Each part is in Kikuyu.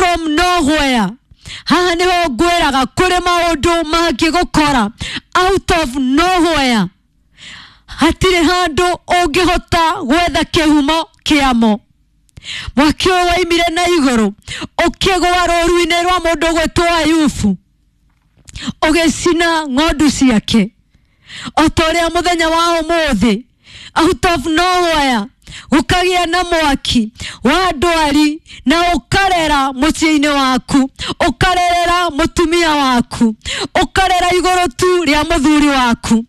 From nowhere. Haha nĩho ngwĩraga kũrĩ maũndũ mangĩgũkora out of nowhere. Hatirĩ handũ ũngĩhota gwetha kĩhumo kĩamo. Mwaki ũyũ waimire na igũrũ ũkĩgũa rũru-inĩ rwa mũndũ ũgwĩtwo Ayubu, ũgĩcina ng'ondu ciake. O ta ũrĩa mũthenya wa ũmũthĩ out of nowhere gũkagĩa na mwaki wa ndwari na ũkarera mũciĩ-inĩ waku, ũkarerera mũtumia waku, ũkarera igũrũ tu rĩa mũthuri waku.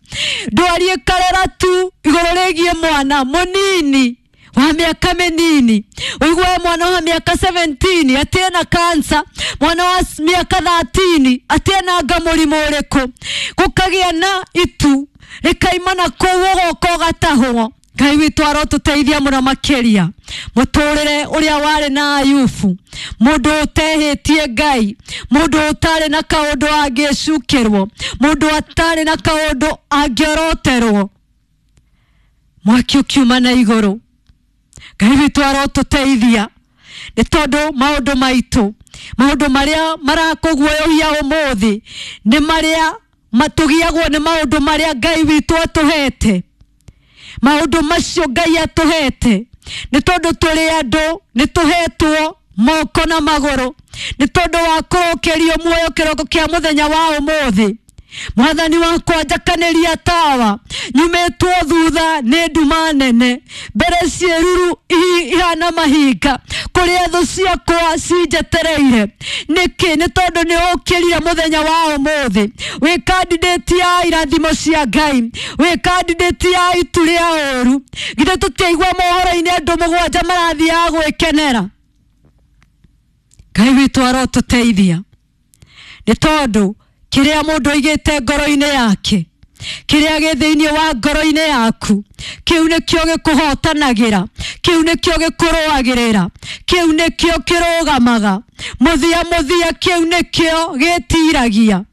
Ndwari ĩkarera tu igũrũ rĩgiĩ mwana mũnini wa mĩaka mĩnini. Ũigue mwana wa mĩaka 17 atĩ ena cancer, mwana wa mĩaka 13 atĩ ena anga mũrimũ ũrĩkũ. Gũkagĩa na itu rĩkaima na kũu ũgoka ũgatahwo. Ngai witũ arotũteithia mũno makĩria. Mũtũrĩre ũrĩa warĩ na Ayubu, mũndũ ũtehĩtie Ngai, mũndũ ũtarĩ na kaũndũ angĩcukĩrwo, mũndũ atarĩ na kaũndũ angĩoroterwo, mwaki ũkiuma na igũrũ. Ngai witũ arotũteithia, nĩ tondũ maũndũ maitũ, maũndũ marĩa marakũguoyohia ũmũthĩ nĩ marĩa matũgiagwo nĩ maũndũ marĩa Ngai witũ atũhete. Maũndũ macio Ngai atũhete nĩ tondũ tũrĩ andũ, nĩ tũhetwo moko na magũrũ, nĩ tondũ wa kũrũkĩrio muoyo kĩroko kĩa mũthenya wa ũmũthĩ. Mwathani wakwa njakanĩria tawa, nyumĩtwo thutha nĩ nduma nene, mbere ciĩruru ihana mahinga, kũrĩa thũ ciakwa cinjetereire. Nĩkĩ? Nĩ tondũ nĩ ũkĩrire mũthenya wa ũmũthĩ. Wĩ candidate ya irathimo cia Ngai, wĩ candidate ya itu rĩa ũru. Githĩ tũtiaigua mohoro-inĩ andũ mũgwanja marathiaga gwĩkenera? Ngai witũ arotũteithia, nĩ tondũ kĩrĩa mũndũ aigĩte ngoro-inĩ yake, kĩrĩa gĩ thĩinĩ wa ngoro-inĩ yaku, kĩu nĩkĩo gĩkũhotanagĩra, kĩu nĩkĩo gĩkũrũagĩrĩra, kĩu nĩkĩo kĩrũgamaga mũthia mũthia, kĩu nĩkĩo gĩtiragia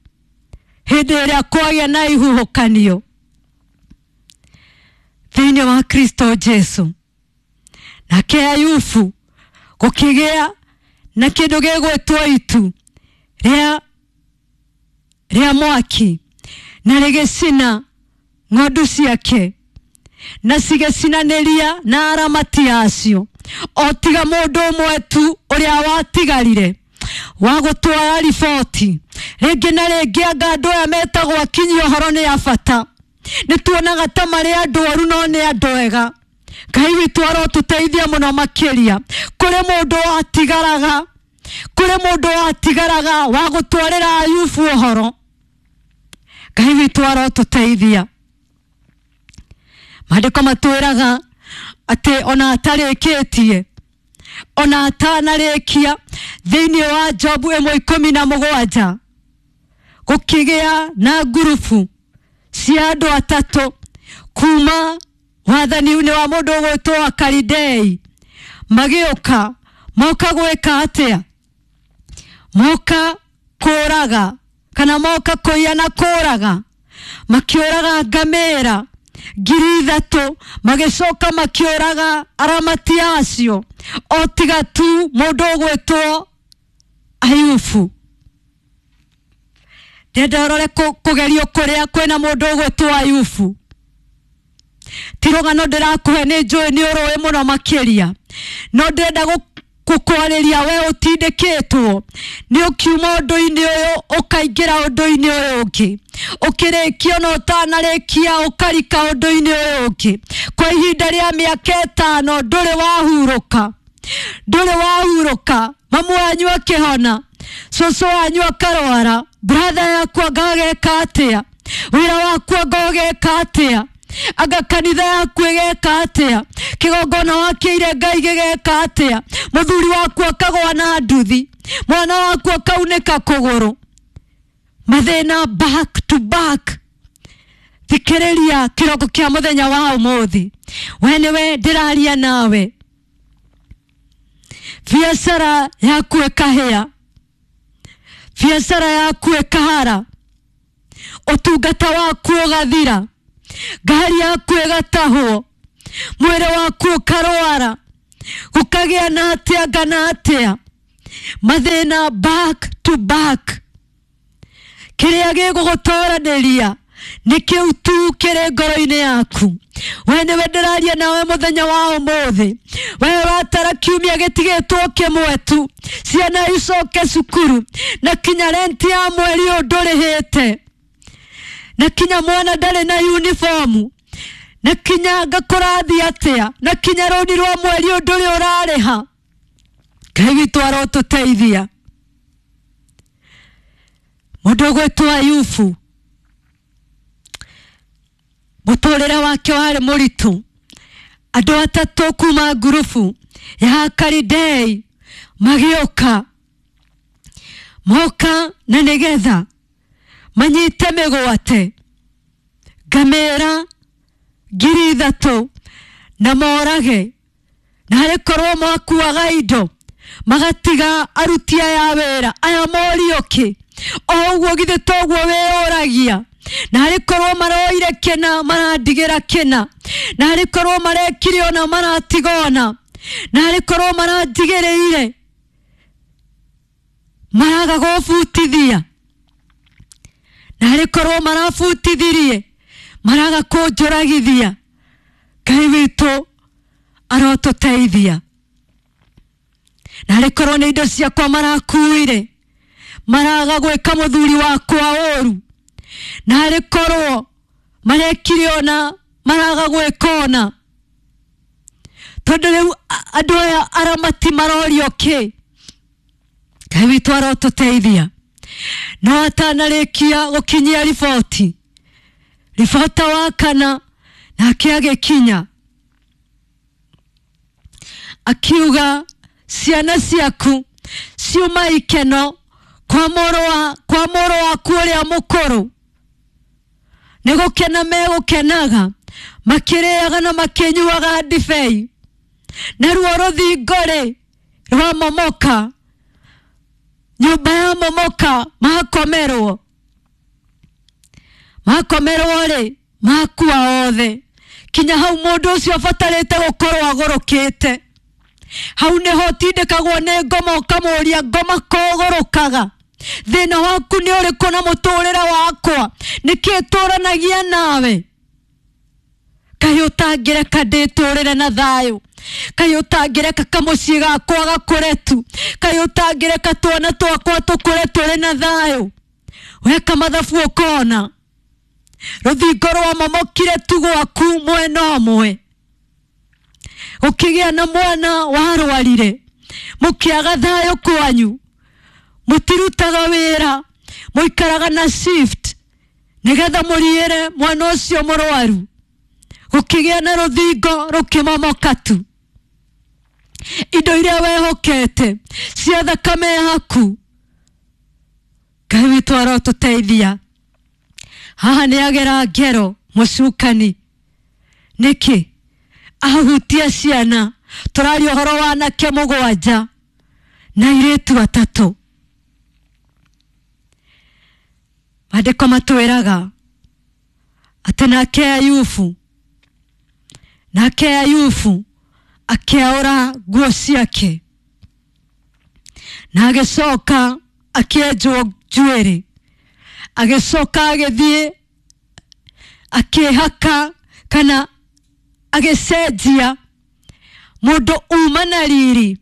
hĩndĩ ĩrĩa kwagĩa na ihuhũkanio thĩinĩ wa Kristo Jesu. Nake Ayubu gũkĩgĩa na kĩndũ gĩgwĩtwo itu rĩa mwaki, na rĩgĩcina ng'ondu ciake, na cigĩcinanĩria na aramati acio, o tiga mũndũ ũmwe tu ũrĩa watigarire wa gũtwara riboti. Rĩngĩ na rĩngĩ anga andũ aya metagwo akinyi ũhoro nĩ a bata, nĩ tuonaga ta marĩ andũ oru no nĩ andũ ega. Ngai witũ arotũteithia mũno makĩria. Kũrĩ mũndũ watigaraga, kũrĩ mũndũ watigaraga wa gũtwarĩra Ayubu ũhoro. Ngai witũ arotũteithia. Maandĩko matwĩraga atĩ ona atarĩkĩtie, ona atanarĩkia, thĩinĩ wa Jobu 1:17 gũkĩgĩa na ngurubu cia andũ atatũ kuma wathani-inĩ wa mũndũ ũgwĩtwo Akalidei, magĩũka. Moka gwĩka atĩa? Moka kũraga, kana moka kũiya na kũraga. Makĩũraga ngamĩra 3,000, magĩcoka makĩũraga aramati acio, o tiga tu mũndũ ũgwĩtwo Ayubu. Ndĩrenda ũrore kũgerio kũrĩa kwĩna mũndũ ũgwĩtwo Ayubu. Ti rũgano ndĩrakũhe, nĩ njũĩ nĩ ũrũĩ mũno makĩria, no ndĩrenda gũkwarĩria we ũtindĩkĩtwo nĩ ũkiuma ũndũ-inĩ ũyũ ũkaingĩra ũndũ-inĩ ũyũ ũngĩ, ũkĩrĩkia ona ũtanarĩkia ũkarika ũndũ-inĩ ũyũ ũngĩ. Kwa ihinda rĩa mĩaka 5 ndũrĩ wahurũka, ndũrĩ wahurũka. Mamu wanyu akĩhona, cũcũ wanyu akarwara, brother yaku anga ageka atĩa, wĩra waku anga ũgeka atĩa, anga kanitha yaku ĩgeka atĩa, kĩgongona wakĩire Ngai gĩgeka atĩa, mũthuri waku akagwa na nduthi, mwana waku akaunĩka kũgũrũ. Mathĩna back to back. Thikĩrĩria kĩroko kĩa mũthenya wa ũmũthĩ, we nĩwe ndĩraria nawe. Biacara yaku ĩkahĩa, biacara yaku ĩkahara, ũtungata waku ũgathira, ngari yaku ĩgatahwo, mwĩrĩ waku ũkarwara, gũkagĩa na atĩa ngana atĩa. Mathĩna back to back. Kĩrĩa gĩgũgũtoranĩria nĩ kĩu tu kĩrĩ ngoro-inĩ yaku. We nĩwe ndĩraria nawe mũthenya wa ũmũthĩ. We watara kiumia gĩtigĩtwo kĩmwe tu, ciana icoke cukuru, na kinya renti ya mweri ũyũ ndũrĩhĩte, na kinya mwana ndarĩ na uniform, na kinya ngakũrathi atĩa, na kinya rũni rwa mweri ũyũ ndũrĩ ũrarĩha. Ngai witũ arotũteithia. Mũndũ ũgwĩtwo Ayubu, mũtũrĩre wake warĩ mũritũ. Andũ atatũ kuma ngurubu ya Akalidei magĩũka, moka na nĩgetha manyite mĩgwate ngamĩra 3,000 na morage, na harĩ korwo makuaga indo magatiga aruti aya wĩra aya morio kĩ, o ũguo githĩ toguo wĩyũragia, na harĩ korwo maroire kĩna marandigĩra kĩna, na harĩ korwo marekire ona maratiga ona, na harĩ korwo marandigĩrĩire maraga gũbutithia, na harĩ korwo marabutithirie maraga kũnjũragithia. Ngai witũ arotũteithia. Na harĩ korwo nĩ indo ciakwa marakuire maraga gwĩka mũthuri wakwa ũru, na harĩ korwo marekire ona maraga gwĩka ona, tondũ rĩu andũ aya aramati marorio kĩ. Ngai witũ arotũteithia. No atanarĩkia gũkinyia riboti, ribota wa kana nake agĩkinya akiuga ciana ciaku ciuma ikeno kwa mũrũ waku ũrĩa mũkũrũ, nĩ gũkena megũkenaga makĩrĩaga na makĩnyuaga ndibei, naruo rũthingo rĩ rwamomoka, nyũmba ya momoka, makomerwo rĩ makua othe. Kinya hau mũndũ ũcio abatarĩte gũkorwo agũrũkĩte. Hau nĩho ũtindĩkagwo nĩ ngoma, ũkamũria ngoma kogũrũkaga, thĩna waku nĩ ũrĩkũ na mũtũrĩre wakwa, nĩkĩ tũranagia nawe? Kaĩ ũtangĩreka ndĩtũrĩre na thayũ? Kaĩ ũtangĩreka kamũciĩ gakwa gakũre tu? Kaĩ ũtangĩreka twana twakwa tũkũre tũrĩ na thayũ? Weka mathabu ũkona rũthingo rwamomokire tu gwaku mwena ũmwe, ũkĩgĩa na mwana warwarire, mũkĩaga thayũ kwanyu, mũtirutaga wĩra, mũikaraga na shift nĩgetha mũriĩre mwana ũcio mũrwaru, gũkĩgĩa na rũthingo rũkĩmomoka tu. Indo iria wehokete cia thakame yaku, Ngai witũ arotũteithia. Haha nĩ agera ngero mũcukani. Nĩkĩ ahutia ciana? Tũraria ũhoro wa anake 7 na airĩtu 3. Maandĩko matwĩraga atĩ nake Ayubu akĩaũra nguo ciake na agĩcoka akĩenjwo njuĩrĩ, agĩcoka agĩthiĩ akĩhaka kana agĩcenjia. Mũndũ uma na riri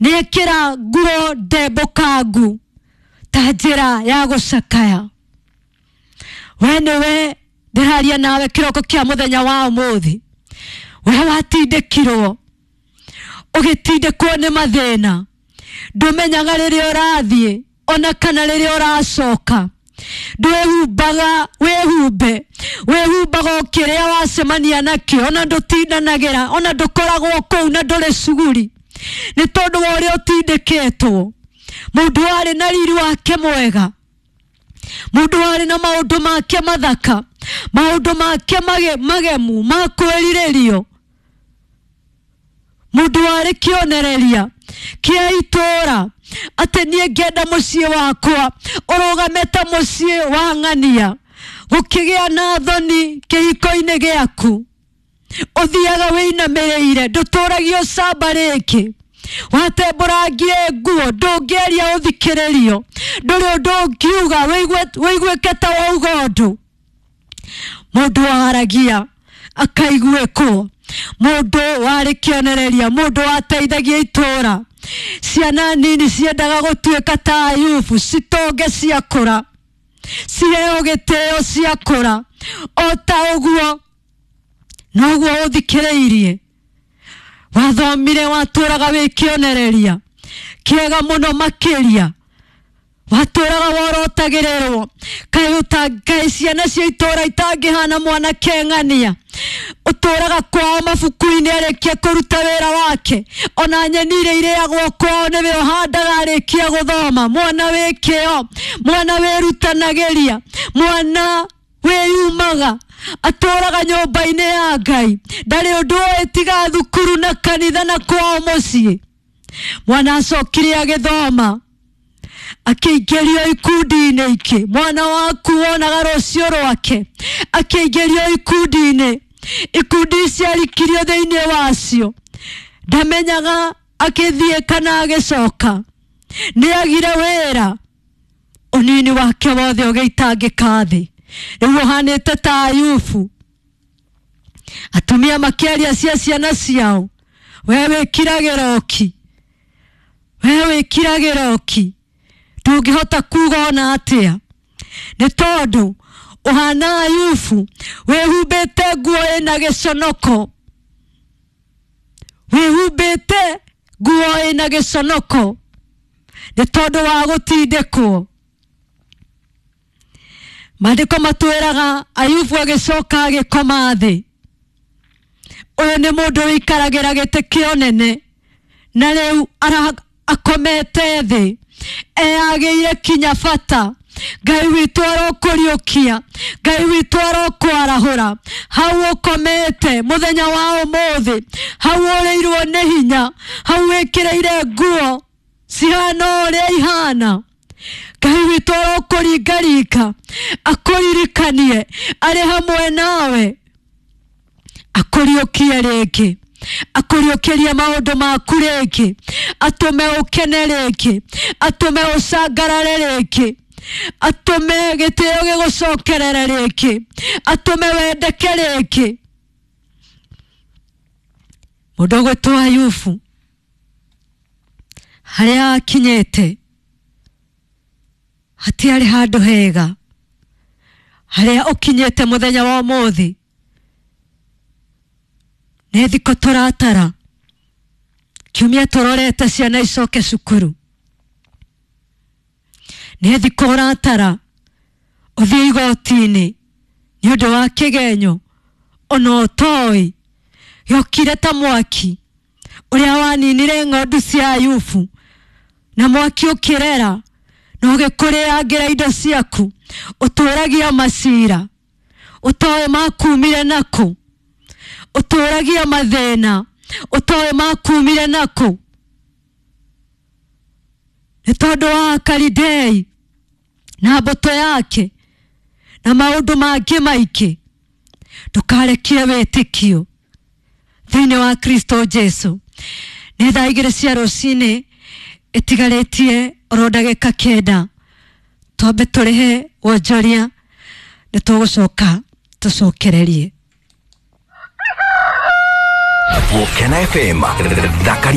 nĩekĩra nguo ndembũkangu ta njĩra ya gũcakaya. We nĩwe ndĩraria nawe kĩroko kĩa mũthenya wa ũmũthĩ. We watindĩkirwo, ũgĩtindĩkwo nĩ mathĩna, ndũmenyaga rĩrĩa ũrathiĩ ona kana rĩrĩa ũracoka, ndwĩhumbaga wĩhumbe, wĩhumbaga o kĩrĩa wacemania nakĩo, ona ndũtindanagĩra, ona ndũkoragwo kũu na ndũrĩ cuguri, nĩ tondũ wa ũrĩa ũtindĩkĩtwo. Mũndũ warĩ na riri wake mwega, mũndũ warĩ na maũndũ make mathaka, maũndũ make magemu ma kwĩrirĩrio, mũndũ warĩ kĩonereria kĩa itũũra atĩ niĩ ngĩenda mũciĩ wakwa ũrũgame ta mũciĩ wa ng'ania, gũkĩgĩa na thoni kĩhiko-inĩ gĩaku, ũthiaga wĩinamĩrĩire, ndũtũragio camba rĩngĩ, Watembũrangie nguo, ndũngĩaria ũthikĩrĩrio, ndũrĩ ũndũ ũngiuga wĩiguĩke ta wauga ũndũ. Mũndũ waragia akaiguĩkwo, mũndũ warĩ kĩonereria, mũndũ wateithagia itũũra. Ciana nini ciendaga gũtuĩka ta Ayubu, citonge ciakũra, ciheo gĩtĩo ciakũra. O ta ũguo noguo ũthikĩrĩirie, wathomire, watũraga wĩ kĩonereria kĩega mũno makĩria, watũraga worotagĩrĩrwo. Kaĩ ciana cia itũra itangĩhana mwanake ng'ania, ũtũraga kwao mabuku-inĩ arĩkia kũruta wĩra wake, ona nyeni iria irĩagwo kwao nĩwe ũhandaga arĩkia gũthoma. Mwana wĩ kĩo, mwana wĩrutanagĩria, mwana wĩyumaga, atũraga nyũmba-inĩ ya Ngai, ndarĩ ũndũ oĩ tiga thukuru na kanitha na kwao mũciĩ. Mwana acokire agĩthoma, akĩingĩrio ikundi-inĩ ingĩ. Mwana waku wonaga rũciũ rwake akĩingĩrio ikundi-inĩ, ikundi ici arikirio thĩinĩ wacio, ndamenyaga akĩthiĩ kana agĩcoka. Nĩ agire wĩra, ũnini wake wothe ũgĩitangĩka thĩ. Rĩu ũhanĩte ta Ayubu. Atumia makĩaria cia ciana ciao, we wĩkiragĩra ũki, we wĩkiragĩra ũki, ndũngĩhota kuga ona atĩa, nĩ tondũ ũhana Ayubu, wĩhumbĩte nguo ĩna gĩconoko, wĩhumbĩte nguo ĩna gĩconoko nĩ tondũ wa gũtindĩkwo. Maandĩko matwĩraga Ayubu agĩcoka agĩkoma thĩ. Ũyũ nĩ mũndũ wĩikaragĩra gĩtĩ kĩa ũnene, na rĩu akomete thĩ, eyagĩire kinya bata. Ngai witũ arokũriũkia, Ngai witũ arokwarahũra hau ũkomete mũthenya wa ũmũthĩ, hau ũrĩirwo nĩ hinya, hau wĩkĩrĩire nguo cihana ũrĩa ihana. Ngai witũ arokũringaringa, akũririkanie arĩ hamwe nawe, akũriũkie rĩngĩ, akũriũkĩrie maũndũ maku rĩngĩ, atũme ũkene rĩngĩ, atũme ũcangarare rĩngĩ, atũme gĩtĩo gĩgũcokerere rĩngĩ, atũme wendeke rĩngĩ. Mũndũ ũgwĩtwo Ayubu harĩa akinyĩte hatiarĩ handũ hega. Harĩa ũkinyĩte mũthenya wa ũmũthĩ nĩ thikũ tũratara, kiumia tũrorete ciana icoke cukuru, nĩ thikũ ũratara ũthiĩ igoti-inĩ nĩ ũndũ wa kĩgenyo ona ũtoĩ gĩokire ta mwaki ũrĩa waninire ng'ondu cia Ayubu, na mwaki ũkĩrera na ũgĩkũrĩangĩra indo ciaku. Ũtũragia macira ũtoĩ makumire nakũ, ũtũragia mathĩna ũtoĩ makumire nakũ, nĩ tondũ wa Akalidei na mbũtũ yake na maũndũ mangĩ maingĩ. Ndũkarekie wĩtĩkio thĩinĩ wa Kristo Jesu. Nĩ thaa 2 cia rũcinĩ ĩtigarĩtie oro ndagĩka 9, twambe tũrĩhe wonjoria, nĩ tũgũcoka tũcokererie. Gũkena FM thakari.